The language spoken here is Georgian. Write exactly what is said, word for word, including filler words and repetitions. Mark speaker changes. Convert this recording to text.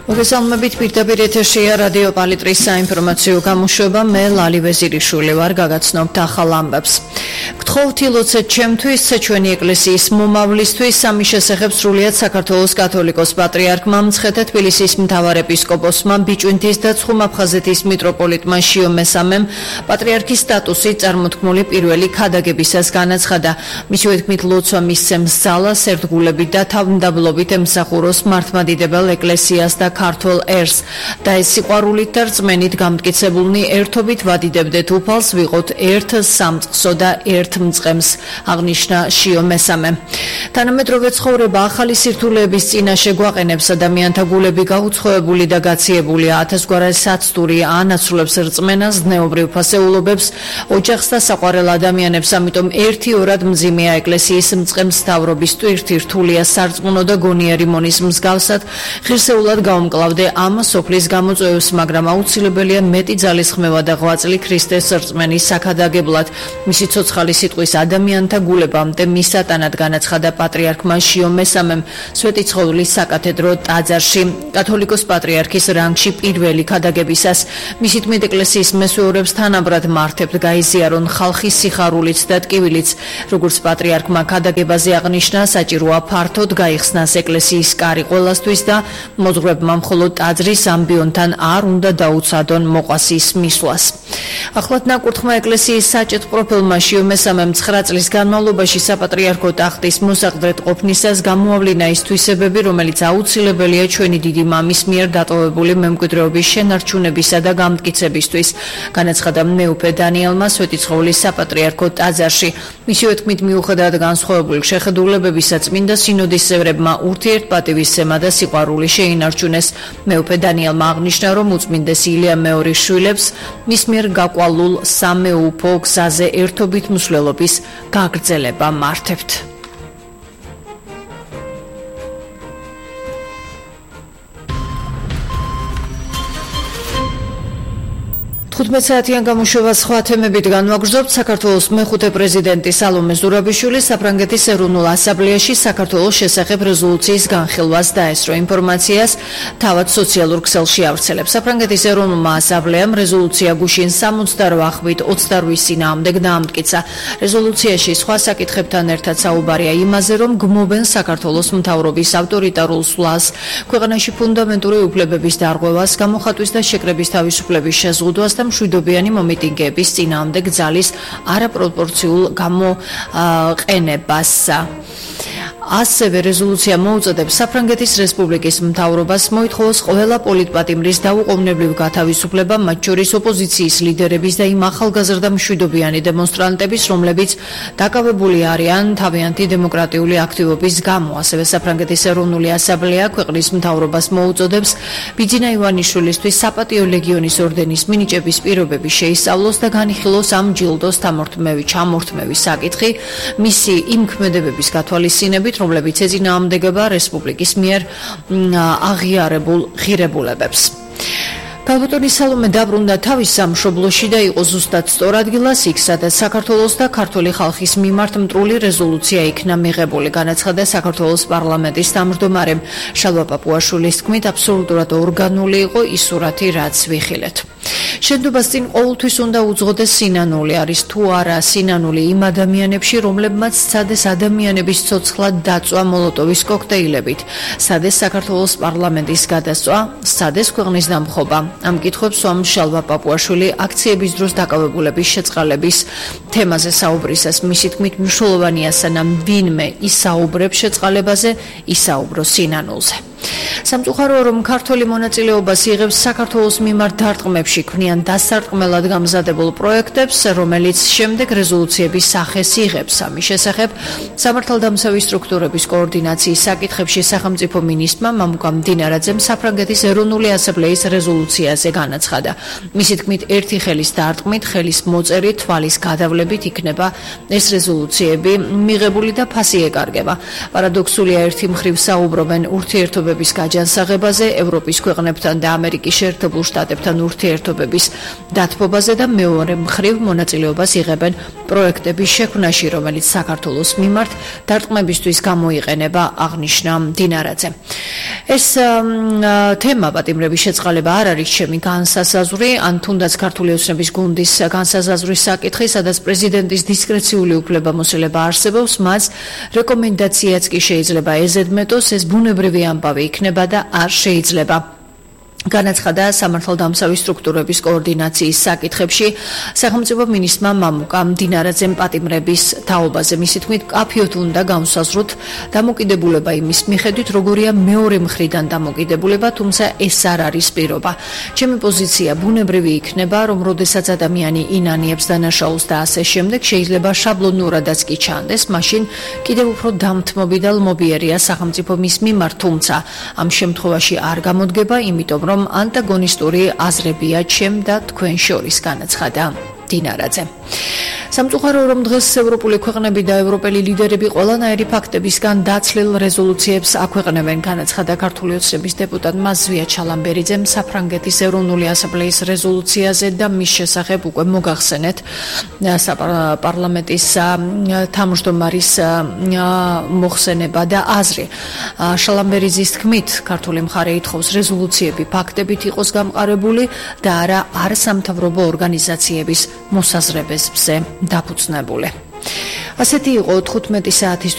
Speaker 1: მოგესალმებით პირდაპირ ეთერშია რადიო პალიტრის საინფორმაციო გამოშვება მე ლალი ვეზირიშვილი ვარ გაგაცნობთ ახალ ამბებს. გთხოვთ ილოცეთ ჩემთვის ჩვენი ეკლესიის მომავლისთვის სამის შესახებ სრულიად საქართველოს კათოლიკოს პატრიარქმა მცხეთა თბილისის მთავარ ეპისკოპოსმა ბიჭვინთის და ცხუმ-აფხაზეთის მიტროპოლიტმა შიო მესამემ პატრიარქის სტატუსი წარმოთქმული პირველი ქადაგებისას განაცხადა. მისი თქმით ლოცვა მისცემს ძალას ერთგულებით და თავმდაბლობით ემსახუროს მართლმადიდებელ ეკლესიას და ქართულ ერს და ეს სიყვარულით და რწმენით გამტკიცებულნი ერთობით ვადიდებდეთ უფალს ვიყოთ ერთ სამწყსო და ერთ მწყემს აღნიშნა შიო მესამემ. თანამედროვე ცხოვრება ახალი სირთულეების წინაშე გვაყენებს ადამიანთა გულები გაუცხოებული და გაციებულია ათასგვარი საცდური ანაცვლებს რწმენას ზნეობრივ ფასეულობებს ოჯახს და საყვარელ ადამიანებს ამიტომ ერთი ორად მძიმეა ეკლესიის მწყემს მთავრობის ტვირთი რთულია სარწმუნო და გონიერი მონის მსგავსად ღირსეულად გაუმკლავდე ამ სოფლის გამოწვევებს მაგრამ აუცილებელია მეტი ძალისხმევა და ღვაწლი ქრისტეს რწმენის საქადაგებლად მისი ცოცხალი სიტყვის ადამიანთა გულებამდე მისატანად განაცხადა პატრიარქმა შიო მესამემ სვეტი ცხოვლის საკათედრო ტაძარში კათოლიკოს პატრიარქის რანგში პირველი ქადაგებისას მისი თქმით ეკლესიის მესვეურებს თანაბრად მართებთ გაიზიარონ ხალხის სიხარულით და ტკივილით როგორც პატრიარქმა ქადაგებაზე აღნიშნა საჭიროა ფართოდ გაიხსნას ეკლესიის კარი ყველასთვის და მოძღვრებმა მხოლოდ ტაძრის ამბიონთან არ უნდა დაუცადონ მოყვასის მისვლას. ახლად ნაკურთხმა ეკლესიის საჭეთ პროფილმა შიო მესამემ ცხრა წლის განმავლობაში საპატრიარქო ტახტის მოსაყდრეთ ყოფნისას გამოავლინა ის თვისებები, რომელიც აუცილებელია ჩვენი დიდი მამის მიერ დატოვებული მემკვიდრეობის შენარჩუნებისა და გამტკიცებისთვის, განაცხადა მეუფე დანიელმა სვეტიცხოვლის საპატრიარქო ტაძარში. მისივე თქმით მიუხედავად განსხვავებული შეხედულებებისა წმინდა სინოდის წევრებმა ურთიერთპატივისცემა და სიყვარული შეინარჩუნეს. მეუფე დანიელმა აღნიშნა, რომ უწმინდეს ილია მეორის შვილებს მის მიერ გაკვალულ სამეუფო გზაზე ერთობით მსვლელობის გაგრძელება მართებთ. თხუთმეტ საათიან გამოშვებას სხვა თემებით განვაგრძობთ. საქართველოს მეხუთე პრეზიდენტი სალომე ზურაბიშვილი საფრანგეთის ეროვნულ ასამბლეაში საქართველოს შესახებ რეზოლუციის განხილვას დაესწრო. ინფორმაციას თავად სოციალურ ქსელში ავრცელებს. საფრანგეთის ეროვნულმა ასამბლეამ რეზოლუცია გუშინ სამოცდაოთხ ხვით ოცდაოთხის წინააღმდეგ დაამტკიცა. რეზოლუციაში სხვა საკითხებთან ერთად საუბარია იმაზე, რომ გმობენ საქართველოს მთავრობის ავტორიტარულ სვლას, ქვეყანაში ფუნდამენტური უფლებების დარღვევას, გამოხატვის და შეკრების თავისუფლების შეზღუდვას და მშვიდობიანი მომიტინგეების წინააღმდეგ ძალის არაპროპორციულ გამოყენებას. ასევე რეზოლუცია მოუწოდებს საფრანგეთის რესპუბლიკის მთავრობას მოითხოვოს ყველა პოლიტპატიმრის დაუყოვნებლივ გათავისუფლება, მათ შორის ოპოზიციის ლიდერების და იმ ახალგაზრდა მშვიდობიანი დემონსტრანტების, რომლებიც დაკავებული არიან თავიანთი დემოკრატიული აქტივობის გამო. ასევე საფრანგეთის ეროვნული ასამბლეა ქვეყნის მთავრობას მოუწოდებს ბიძინა ივანიშვილისთვის საპატიო ლეგიონის ორდენის მინიჭების პირობები შეისწავლოს და განიხილოს ამ ჯილდოს ჩამორთმევის საკითხი მისი იმ ქმედებების გათვალისწინებით, რომლებიც ეწინააღმდეგება რესპუბლიკის მიერ აღიარებულ ღირებულებებს. ქალბატონი სალომე დაბრუნდა თავის სამშობლოში და იყო ზუსტად სწორ ადგილას იქ, სადაც საქართველოს და ქართული ხალხის მიმართ მტრული რეზოლუცია იქნა მიღებული, განაცხადა საქართველოს პარლამენტის თავმჯდომარემ შალვა პაპუაშვილის თქმით, აბსოლუტურად ორგანული იყო ის სურათი, რაც ვიხილეთ. შენდობას წინ ყოველთვის უნდა უძღოდეს სინანული, არის თუ არა სინანული იმ ადამიანებში, რომლებმაც სცადეს ადამიანების ცოცხლად დაწვა მოლოტოვის კოქტეილებით, სცადეს საქართველოს პარლამენტის გადასწვა, სცადეს ქვეყნის დამხობა. ამ კითხვებს სვამ შალვა პაპუაშვილი აქციების დროს დაკავებულების შეწყალების თემაზე საუბრისას. მისი თქმით, მნიშვნელოვანია სანამ ვინმე ისაუბრებს შეწყალებაზე, ისაუბრო სინანულზე. სამწუხაროა, რომ ქართული მონაწილეობას იღებს საქართველოს მიმართ დარტყმებში, ქმნიან დასარტყმელად გამზადებულ პროექტებს, რომელიც შემდეგ რეზოლუციების სახეს იღებს. ამის შესახებ სამართალდამცავი სტრუქტურების კოორდინაციის საკითხებში სახელმწიფო მინისტრმა მამუკამ დინარაძემ საფრანგეთის ეროვნული ასამბლეის რეზოლუციაზე განაცხადა. მისი თქმით, ერთი ხელის დარტყმით, ხელის მოწერით, თვალის გადავლებით იქნება ეს რეზოლუციები მიღებული და ფასი ეკარგება. პარადოქსულია, ერთი მხრივ საუბრობენ ურთიერთობ ურთიერთობების გაჯანსაღებაზე, ევროპის ქვეყნებთან და ამერიკის შეერთებულ შტატებთან ურთიერთობების დათბობაზე და მეორე მხრივ მონაწილეობას იღებენ პროექტების შექმნაში, რომელიც საქართველოს მიმართ დარტყმებისთვის გამოიყენება, აღნიშნა დინარაძე. ეს თემა პატიმრების შეწყალება არ არის ჩემი განსასაზღვრი, ან თუნდაც ქართული ოცნების გუნდის განსაზღვრის საკითხი, სადაც პრეზიდენტის დისკრეციული უფლებამოსილება არსებობს, მას რეკომენდაციაც კი შეიძლება ეზედმეტოს, ეს ბუნებრივი ამბავი იქნება და არ შეიძლება. განაცხადა სამართალდამცავი სტრუქტურების კოორდინაციის საკითხებში სახელმწიფო მინისტრმა მამუკამ დინარაძემ პატიმრების თაობაზე. მისი თქმით, კაფიოდ უნდა განსაზღვროთ დამოკიდებულება იმის მიხედვით, როგორია მეორე მხრიდან დამოკიდებულება, თუმცა ეს არ არის პირობა. ჩემი პოზიცია ბუნებრივი იქნება, რომ როდესაც ადამიანი ინანიებს დანაშაულს და ასე შემდეგ, შეიძლება შაბლონურადაც კი ჩანდეს, მაშინ კიდევ უფრო დამთმობი და ლმობიერია სახელმწიფო მის მიმართ, თუმცა ამ შემთხვევაში არ გამოდგება, იმიტომ რომ ანტაგონისტური აზრებია ჩემ და თქვენ შორის, განაცხადა დინარაძე. სამწუხაროა, რომ დღეს ევროპული ქვეყნები და ევროპელი ლიდერები ყველანაირი ფაქტებისგან დაცლილ რეზოლუციებს აქვეყნებენ, განაცხადა ქართული ოცნების დეპუტატმა ზვია ჩალამბერიძემ საფრანგეთის ეროვნული ასამბლეის რეზოლუციაზე და მის შესახებ უკვე მოგახსენეთ პარლამენტის თავმჯდომარის მოხსენება და აზრი. ჩალამბერიძის თქმით, ქართული მხარე ითხოვს რეზოლუციები ფაქტებით იყოს გამყარებული და არა არასამთავრობო ორგანიზაციების მოსაზრებებზე დაფუძნებული. ასეთი იყო თხუთმეტი საათისთვის